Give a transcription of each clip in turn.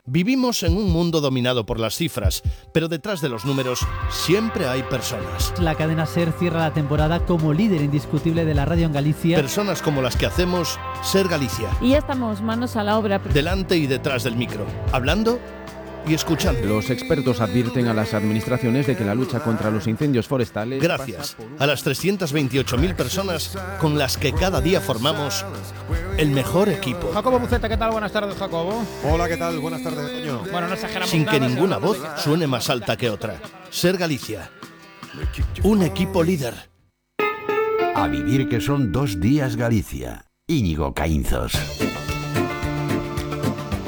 Vivimos en un mundo dominado por las cifras, pero detrás de los números siempre hay personas. La cadena SER cierra la temporada como líder indiscutible de la radio en Galicia. Personas como las que hacemos Ser Galicia. Y ya estamos manos a la obra. Delante y detrás del micro, hablando y escuchando. Los expertos advierten a las administraciones de que la lucha contra los incendios forestales... Gracias a las 328.000 personas con las que cada día formamos el mejor equipo. Jacobo Buceta, ¿qué tal? Buenas tardes, Jacobo. Hola, ¿qué tal? Buenas tardes, Toño. Bueno, no exageramos Sin que nada, ninguna voz suene más alta que otra. Ser Galicia. Un equipo líder. A vivir que son 2 días Galicia. Íñigo Caínzos.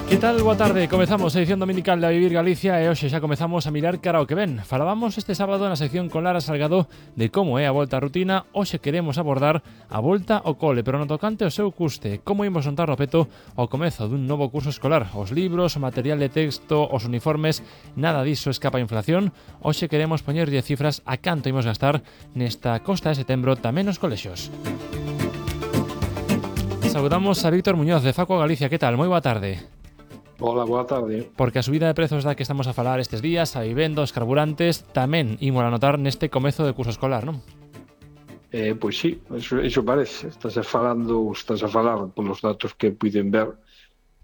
Que tal? Boa tarde, comezamos a edición dominical de A Vivir Galicia e hoxe xa comezamos a mirar cara ao que ven. Falábamos este sábado na sección con Lara Salgado de como é a volta á rutina. Hoxe queremos abordar a volta ao cole, pero no tocante ao seu custe. Como imos montar o peto ao comezo dun novo curso escolar. Os libros, o material de texto, os uniformes, nada diso escapa a inflación. Hoxe queremos poñerlle cifras a canto imos gastar nesta costa de setembro tamén nos colexios. Saludamos a Víctor Muñoz de Facua Galicia. Que tal? Moi boa tarde. Hola, boa tarde. Porque a subida de prezos da que estamos a falar estes días, a vivenda, os carburantes, tamén imos a notar neste comezo de curso escolar, non? Pois sí, iso parece. Estás a falar polos datos que puiden ver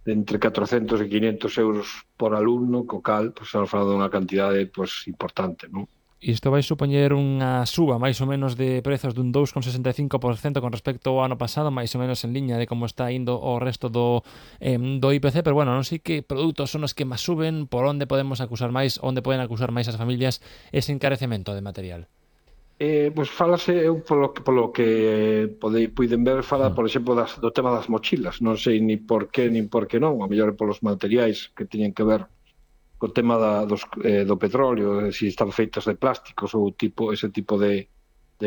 de entre 400 e 500 euros por alumno, co cal, pues, estamos falando dunha cantidade pues, importante, non? Isto vai supoñer unha suba máis ou menos de prezos dun 2,65% con respecto ao ano pasado, máis ou menos en liña de como está indo o resto do IPC, pero bueno, non sei que produtos son os que máis suben, por onde podemos acusar máis, onde poden acusar máis as familias ese encarecemento de material. Pois falase, eu polo que puiden ver, fala, por exemplo, do tema das mochilas. Non sei ni por que non, a mellor polos materiais que teñen que ver o tema do petróleo, se están feitas de plásticos ou ese tipo de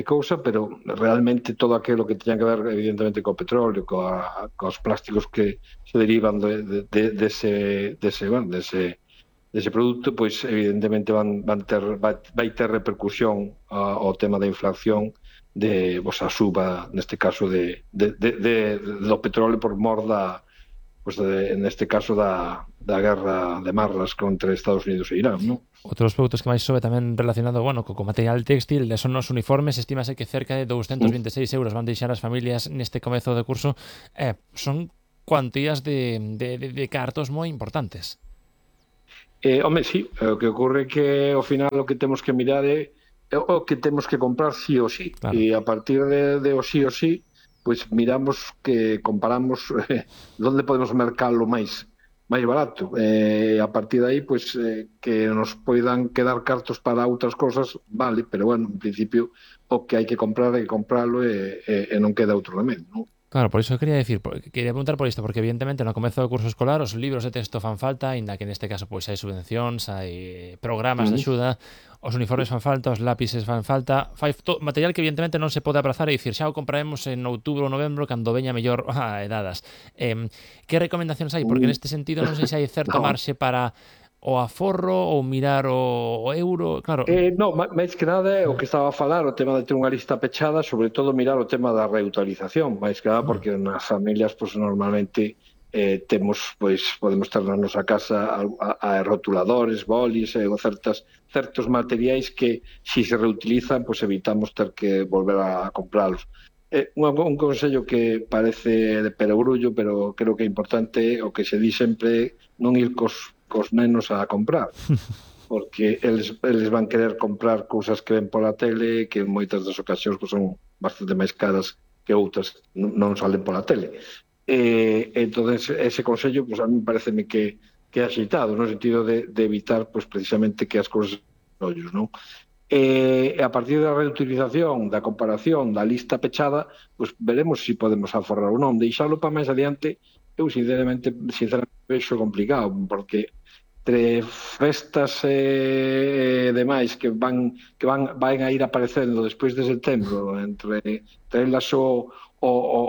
cousa, pero realmente todo aquilo que teña que ver evidentemente co petróleo, cos plásticos que se derivan dese produto, pois evidentemente vai ter repercusión ao tema da inflación de a suba, neste caso do petróleo por mor neste caso da guerra de marras contra Estados Unidos e Irán, non? Outros produtos que máis sobe tamén relacionado, co material textil, son os uniformes, estímase que cerca de 226 euros van deixar as familias neste comezo de curso. Son cuantías de cartos moi importantes. Home, sí, o que ocorre que ao final o que temos que mirar é o que temos que comprar sí ou sí, claro. E a partir de o sí ou sí, pois miramos que comparamos onde podemos mercalo máis barato. A partir de aí, pois que nos poidan quedar cartos para outras cosas, vale, pero bueno, en principio o que hai que comprar hai que compralo e non queda outro remedio, non? Claro, por iso quería preguntar por isto, porque evidentemente no comezo do curso escolar os libros de texto fan falta, aínda que neste caso pois hai subvencións, hai programas de axuda, os uniformes fan falta, os lápices fan falta, material que evidentemente non se pode aprazar e dicir xa o compraremos en outubro ou novembro cando veña mellor edadas. Que recomendacións hai? Porque neste sentido non sei se hai certo marxe para o aforro ou mirar o euro, claro. Non, máis que nada é o que estaba a falar, o tema de ter unha lista pechada, sobre todo mirar o tema da reutilización, máis que nada porque nas familias pues, normalmente podemos ter na nosa casa a rotuladores, bolis ou certos materiais que si se reutilizan, pues evitamos ter que volver a compralos. Un consello que parece de perogrullo, pero creo que é importante, o que se di sempre, non ir cos nenos a comprar, porque eles van querer comprar cousas que ven pola tele, que en moitas das ocasións pues, son bastante máis caras que outras non salen pola tele. Entón, ese consello pues, a mí pareceme que é axeitado, no sentido de evitar pues, precisamente que as cousas ollos, non? A partir da reutilización, da comparación, da lista pechada, pues veremos se podemos aforrar ou non. Deixalo para máis adiante, eu sinceramente vexo complicado, porque entre festas e demais que van a ir aparecendo despois de setembro, entre elas o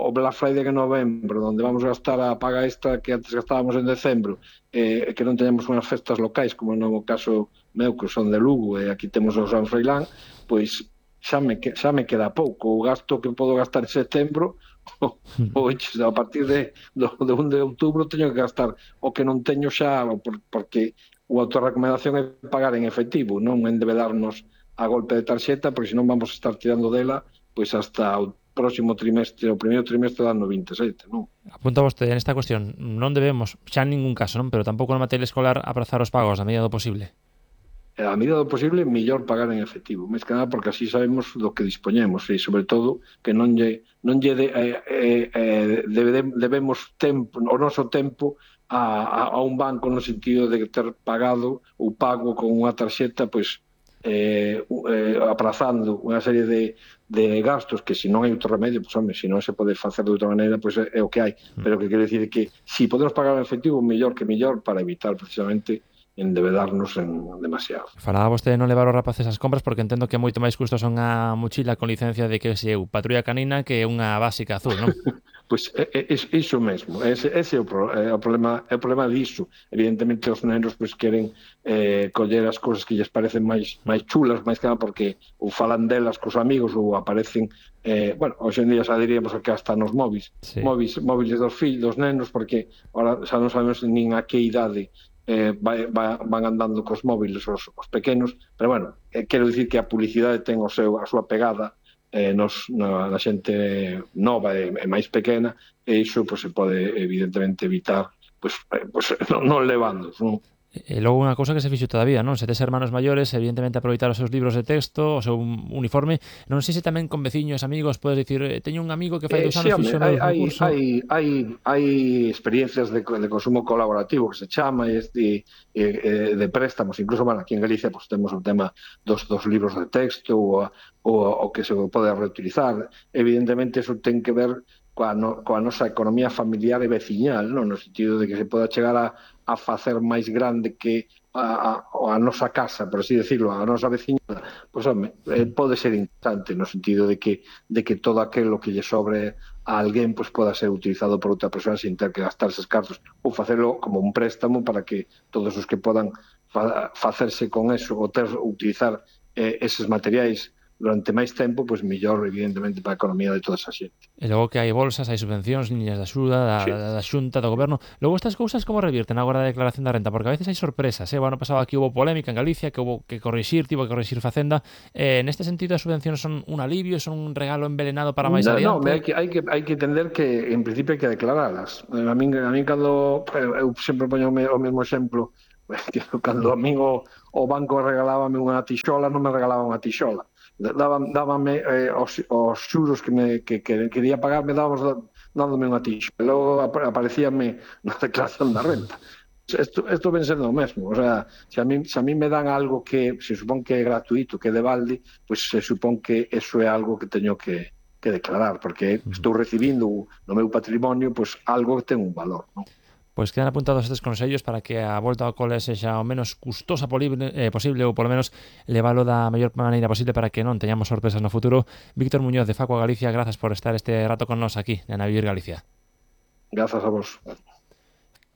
Black Friday en novembro, onde vamos gastar a paga extra que antes gastábamos en decembro, que non teñamos unhas festas locais, como no caso meu, que son de Lugo, e aquí temos o San Froilán, pois xa me queda pouco. O gasto que podo gastar en setembro, a partir do 1 de outubro teño que gastar o que non teño xa, porque a autorrecomendación é pagar en efectivo, non endebedarnos a golpe de tarxeta, porque senón vamos a estar tirando dela pois hasta o próximo trimestre, o primeiro trimestre do ano 27, non? Apunta vostede nesta cuestión, non debemos, xa en ningún caso, non, pero tampouco na materia escolar aprazar os pagos na medida do posible. A medida do posible, mellor pagar en efectivo, máis que nada porque así sabemos do que dispoñemos e, sobre todo, que debemos o noso tempo a un banco no sentido de ter pagado ou pago con unha tarxeta, pois, aprazando unha serie de gastos que se non hai outro remedio, pois, home, se non se pode facer de outra maneira, pois é o que hai. Pero que quero dicir que se podemos pagar en efectivo, mellor que mellor para evitar precisamente endebedarnos en demasiado. Falaba vostede non levar os rapaces as compras porque entendo que é moito máis custosa unha mochila con licencia de que se eu patrulla canina que unha básica azul, non? Pois iso mesmo, ese é o problema diso. Evidentemente os nenos pois queren coller as cousas que lles parecen máis chulas, máis que nada porque ou falan delas cos amigos ou aparecen, hoxe en día xa diríamos que hasta nos móviles dos fillos, dos nenos, porque ahora xa non sabemos nin a que idade van andando cos móviles os pequenos, pero bueno, quero dicir que a publicidade ten a súa pegada na xente nova e máis pequena, e iso se pode evidentemente evitar non levando, non? E logo unha cousa que se fixo todavía, non? Se tes hermanos maiores, evidentemente aproveitar os seus libros de texto, o seu uniforme. Non sei se tamén con veciños, amigos, podes dicir, teño un amigo que fai 2 anos fixo no concurso. Hai experiencias de consumo colaborativo que se chama de préstamos, incluso aquí en Galicia temos o tema dos libros de texto o que se pode reutilizar. Evidentemente eso ten que ver coa nosa economía familiar e veciñal, non? No sentido de que se poda chegar a facer máis grande que a nosa casa, por así decirlo, a nosa veciñada, pois, home, pode ser interesante no sentido de que todo aquilo que lle sobre a alguén pois poda ser utilizado por outra persoa sin ter que gastar eses cartos ou facelo como un préstamo para que todos os que podan facerse con eso ou utilizar eses materiais durante máis tempo, pois mellor, evidentemente, para a economía de toda esa xente. E logo que hai bolsas, hai subvencións, liñas de axuda da Xunta, do Goberno. Logo estas cousas como revirten agora da declaración da renta? Porque a veces hai sorpresas, O ano pasado aquí houve polémica en Galicia, que tivo que corrixir Facenda. Neste sentido, as subvencións son un alivio, son un regalo envenenado para máis adiante? Non, hai que entender que, en principio, hai que declaralas. A min cando eu sempre poño o mesmo exemplo, que cando a min o banco regalábame unha tixola, non me regalaba unha tixola. Dábame os xuros que quería pagarme, dándome unha tixa. Logo aparecíame na declaración da renta. Isto ven sendo o mesmo. O sea, se a mí me dan algo que se supón que é gratuito, que é de balde, pois se supón que eso é algo que teño que declarar, porque estou recibindo no meu patrimonio pois algo que ten un valor, non? Pois quedan apuntados estes consellos para que a volta ao cole sexa o menos custosa posible ou polo menos levalo da mellor maneira posible para que non teñamos sorpresas no futuro. Víctor Muñoz de Facua Galicia, grazas por estar este rato con nós aquí en A Vivir Galicia. Grazas a vos.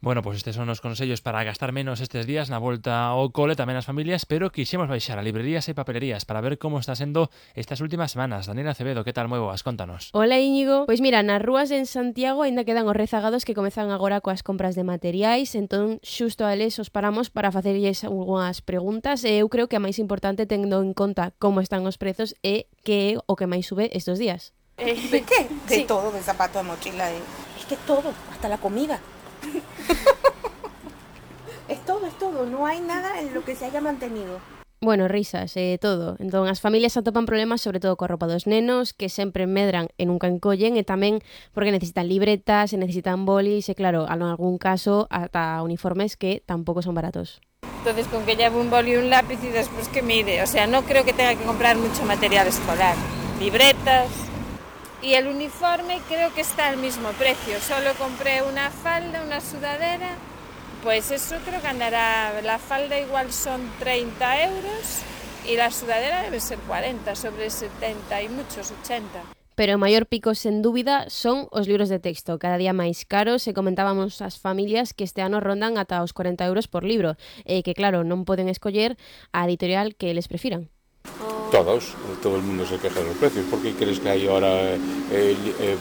Bueno, pois estes son os consellos para gastar menos estes días na volta ao cole, tamén as familias, pero quixemos baixar a librerías e papelerías para ver como está sendo estas últimas semanas. Daniela Acevedo, que tal, moi boas? Contanos. Hola, Íñigo. Pois mira, nas rúas en Santiago aínda quedan os rezagados que comezan agora coas compras de materiais, entón xusto a eles os paramos para facerlles algunhas preguntas e eu creo que a máis importante tendo en conta como están os prezos e que é o que máis sube estes días. ¿De qué? De todo, de zapato, de mochila, es que todo, hasta la comida. Es todo, no hay nada en lo que se haya mantenido. Bueno, risas, todo. Entón, as familias atopan problemas sobre todo coa roupa dos nenos, que sempre medran e nunca encollen, e tamén porque necesitan libretas, e necesitan bolis, e claro, en algún caso, ata uniformes que tampouco son baratos. Entonces, con que lleve un boli y un lápiz y después que mire, o sea, no creo que tenga que comprar mucho material escolar. Libretas. Y el uniforme creo que está al mismo precio. Solo compré una falda, una sudadera. Pues eso creo que andará. La falda igual son 30 euros y la sudadera debe ser 40, sobre 70 y muchos 80. Pero o maior pico, sen dúbida, son os libros de texto, cada día máis caros, e comentábamos ás familias que este ano rondan ata os 40 euros por libro, e que claro, non poden escoller a editorial que les prefiran. Todos, todo el mundo se queja de los precios. ¿Por qué crees que hay ahora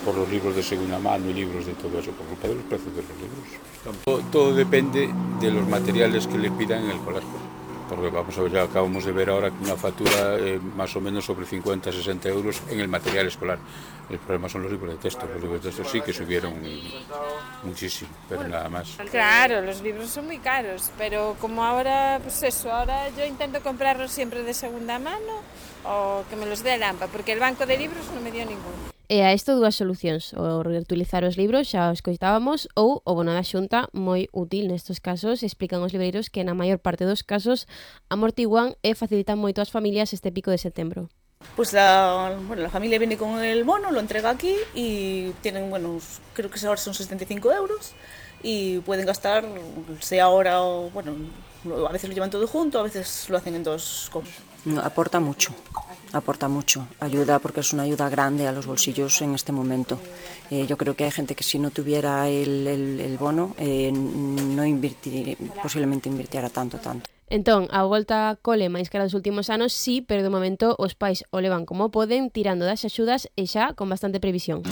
por los libros de segunda mano y libros de todo eso? Por culpa de los precios de los libros. Todo depende de los materiales que le pidan en el colegio. Porque vamos a ver, ya acabamos de ver ahora una factura más o menos sobre 50-60 euros en el material escolar. El problema son los libros de texto. Los libros de texto sí que subieron muchísimo, pero nada más. Claro, los libros son muy caros, pero como ahora, pues eso, ahora yo intento comprarlos siempre de segunda mano o que me los dé el AMPA, porque el banco de libros non me dio ninguno. E a isto dúas solucións, o reutilizar os libros, xa os coitábamos, ou o bono da Xunta, moi útil nestes casos, explican os libreiros que na maior parte dos casos amortiguan e facilitan moito ás familias este pico de setembro. Pues la familia viene con el bono, lo entrega aquí y tienen, creo que ahora son 75 euros y pueden gastar, sea ahora o, a veces lo llevan todo junto, a veces lo hacen en dos cosas. Aporta mucho, ayuda porque es una ayuda grande a los bolsillos en este momento. Yo creo que hay gente que si no tuviera el bono posiblemente invirtiera tanto. Entón, a volta cole máis cara dos últimos anos, sí, pero de momento os pais o levan como poden, tirando das axudas e xa con bastante previsión.